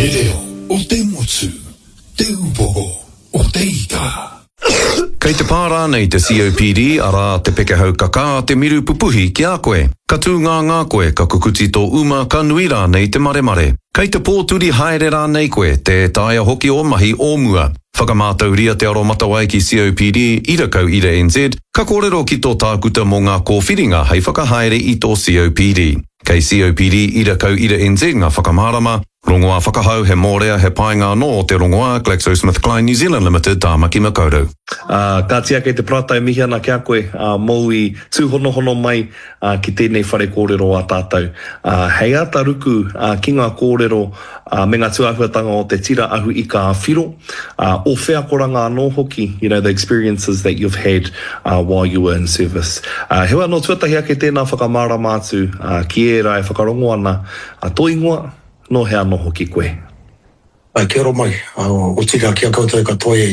Te reo o te motu, te upoko o te ika. Kei te pā rānei te COPD, arā, te pekehau kakā, te miru pupuhi ki a koe? Ka tūngāngā koe, ka kukuti tō uma, ka nui rānei te maremare? Kei te pōturi haere rānei koe, tē taea hoki ō mahi o mua? Whakamātauria te aromatawai ki COPD, ira kau ira NZ, ka kōrero ki tō tākuta mō ngā kōwhiringa hei whakahaere i tō COPD. Kei COPD ira kau ira NZ ngā whakamārama, Rongoā whakahau, he mōrea, he painga anō o te rongoā, GlaxoSmithKline New Zealand Limited, Tāmaki Makaurau. Ā, kāti ake te Parata e mihi ana ki a koe, ā, mōu i tūhonohono mai, ā, ki tēnei whare kōrero a tātou. Ā, hei āta ruku, ā, ki ngā kōrero, ā, me ngā tūāhuatanga o te tira ahu ika a Whiro, ā, ō wheakoranga anō hoki, you know, the experiences that you've had, ā, while you were in service. Ā, heoi anō, tuatahi ake tēnā whakamārama atu, ā, ki ērā e whakarongo ana, ā, tō ingoa, nō hea anō hoki koe? Ā, kia ora mai, ā, otirā ki a koutou katoa e.